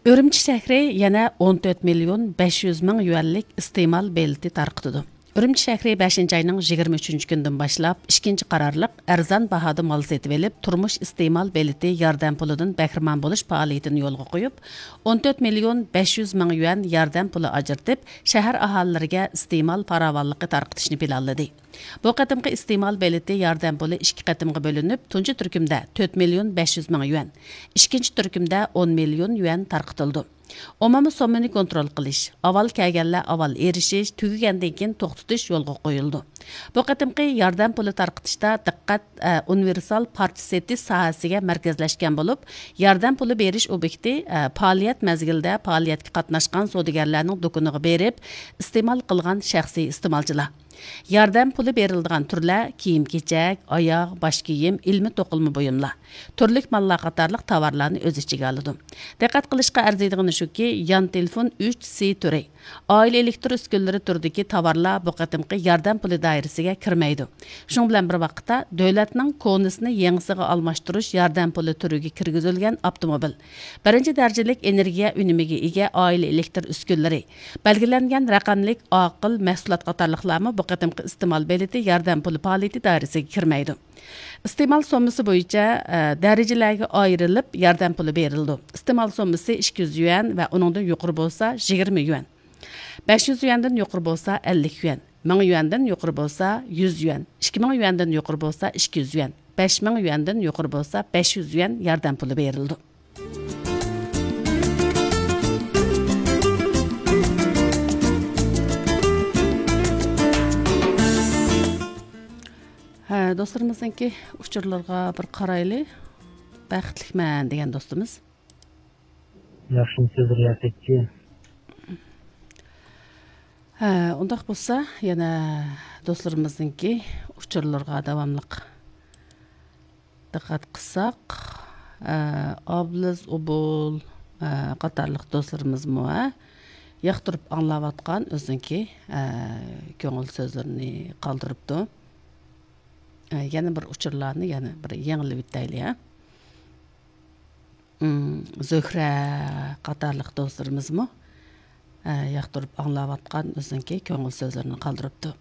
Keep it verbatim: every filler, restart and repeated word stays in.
ئۈرۈمچى شەھىرى يەنە ئون تۆت مىليون بەش يۈز مىڭ يۈەنلىك ئىستېمال بېلىتى تارقىتىدۇ. ئۈرۈمچى شەھىرى بەشىنچى ئاينىڭ يىگىرمە ئۈچىنچى كۈنىدىن باشلاپ ئىككىنچى قارارلىق ئەرزان باھادا مال سېتىۋېلىپ، تۇرمۇش ئىستېمال بېلىتى ياردەم پۇلىدىن بەھرىمەن بولۇش پائالىيىتىنى يولغا قويۇپ، ئون تۆت مىليون بەش يۈز مىڭ يۈەن ياردەم پۇلى ئاجرىتىپ، شەھەر ئاھالىلىرىگە ئىستېمال پاراۋانلىقى تارقىتىشنى پىلانلىدى. بۇ قېتىمقى ئىستېمال بېلىتى ياردەم پۇلى ئىككى قېتىمغا بۆلۈنۈپ، تۇنجى تۈركۈمدە تۆت مىليون بەش يۈز مىڭ يۈەن، ئىككىنچى تۈركۈمدە ئون مىليون يۈەن تارقىتىلىدۇ. ئومۇمىي سوممىنى كونترول قىلىش، ئاۋۋال كەلگەنلەر ئاۋۋال ئېرىشىش، تۈگىگەندىن كېيىن توختىتىش يولغا قويۇلىدۇ. بۇ قېتىمقى ياردەم پۇلى تارقىتىشتا دىققەت، ئە، ئۇنىۋېرسال پارچە سېتىش ساھەسىگە مەركەزلەشكەن بولۇپ، ياردەم پۇلى بېرىش ئوبيېكتى، ئە، پائالىيەت مەزگىلىدە پائالىيەتكە قاتناشقان سودىگەرلەرنىڭ دۇكىنىغا بېرىپ ئىستېمال قىلغان شەخسىي ئىستېمالچىلار. ياردەم پۇلى بېرىلىدىغان تۈرلەر كىيىم-كېچەك، ئاياغ، باش كىيىم، ئىلمىي توقۇلما بۇيۇملار، تۈرلۈك ماللار قاتارلىق تاۋارلارنى ئۆز ئىچىگە ئالىدۇ. دىققەت قىلىشقا ئەرزىيدىغىنى شۇكى، يان تېلېفون ئۈچ سى تۈرى، ئائىلە ئېلېكتر ئۈسكۈنىلىرى تۈرىدىكى تاۋارلار بۇ قېتىمقى ياردەم پۇلى دائىرىسىگە كىرمەيدۇ. شۇنىڭ بىلەن بىر ۋاقىتتا، دۆلەتنىڭ كونىسىنى يېڭىسىغا ئالماشتۇرۇش ياردەم پۇلى تۈرىگە كىرگۈزۈلگەن ئاپتوموبىل، بىرىنچى دەرىجىلىك ئېنېرگىيە ئۈنۈمىگە ئىگە ئائىلە ئېلېكتر ئۈسكۈنىلىرى، بەلگىلەنگەن رەقەملىك ئاقىل مەھسۇلات قاتارلىقلارمۇ بۇ قېتىمقى ئىستېمال بېلىتى ياردەم پۇلى پائالىيىتى دائىرىسىگە كىرمەيدۇ. ئىستېمال سوممىسى بويىچە، ئە، دەرىجىلەرگە ئايرىلىپ ياردەم پۇلى بېرىلىدۇ. ئىستېمال سوممىسى ئىككى يۈز يۈەن ۋە ئۇنىڭدىن يۇقىرى بولسا يىگىرمە يۈەن، بەش يۈز يۈەندىن يۇقىرى بولسا ئەللىك يۈەن، مىڭ يۈەندىن يۇقىرى بولسا يۈز يۈەن، ئىككى مىڭ يۈەندىن يۇقىرى بولسا ئىككى يۈز يۈەن، بەش مىڭ يۈەندىن يۇقىرى بولسا بەش يۈز يۈەن ياردەم پۇلى بېرىلىدۇ. ھە، دوستلىرىمىزنىڭكى ئۇچۇرلىرىغا بىر قارايلى. بەختلىكمەن دېگەن دوستىمىز. ياخشىمۇ سۆزلىرى ياسەتچى. ھە، ئۇنداق بولسا، يەنە دوستلىرىمىزنىڭكى ئۇچۇرلىرىغا داۋاملىق دىققەت قىلساق، ئە، ئابلىز ئوبۇل، ئە، قاتارلىق دوستلىرىمىزمۇ، ھە، ياقتۇرۇپ ئاڭلاۋاتقان ئۆزىنىڭكى، ئە، كۆڭۈل سۆزلىرىنى قالدۇرۇپتۇ. ئە، يەنە بىر ئۇچۇرلارنى يەنە بىر يېڭىلىۋېتەيلى، ھە. ئىم، زۆھرە قاتارلىق دوستلىرىمىزمۇ، ئە، ياقتۇرۇپ ئاڭلاۋاتقان ئۆزىنىڭكى كۆڭۈل سۆزلىرىنى قالدۇرۇپتۇ.